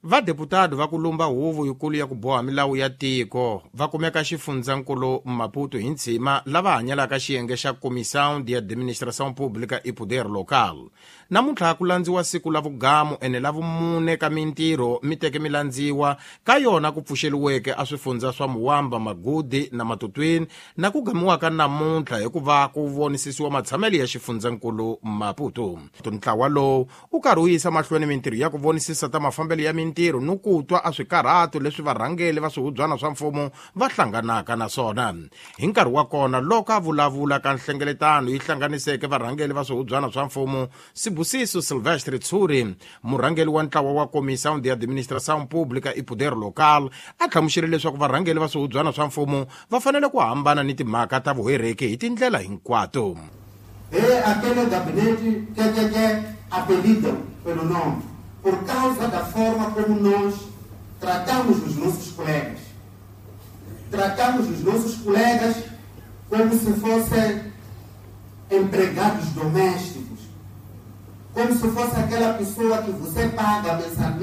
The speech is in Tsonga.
Vadeputado va ku lumba huvo yikulu ya ku boha milawu ya tiko va kumeka xifundzankulu Maputo hi ntshima lava hanyelaka xiyenge xa Comissão de Administração Pública e Poder Local. Namuntlha ku landziwa siku la vugamu ene la vumune ka mintirho mi teke mi landziwa ka yona ku pfuxeliweke a swifundza swa Muwamba, Magudi na Matutwini na ku gamiwaka namuntlha hikuva ku vonisisiwa matshamelo ya xifundzankulu Maputo. Ntlawa lowu u karhi wu yisa mahlweni mintirho ya ku vonisisa ta mafambelo ya mintirho ni ku twa a swikarhato leswi varhangeli va swihubyana swa mfumo va hlanganaka na swona. Hi nkarhi wa kona loko a vulavula ka nhlengeletano yi hlanganiseke varhangeli va swihubyana swa mfumo, Sibusiso Silvestre Tshuri, murhangeli wa ntlawa wa Comissão de Administração Pública e Poder Local, a hlamusele leswaku varhangeli va swihubyana swa mfumo va fanele ku hambana ni timhaka ta vuhereki hi tindlela hinkwato. É aquele gabinete que apelidam pelo nome, por causa da forma como nós tratamos os nossos colegas. Tratamos os nossos colegas como se fossem empregados domésticos, como se fosse aquela pessoa que você paga mensalmente.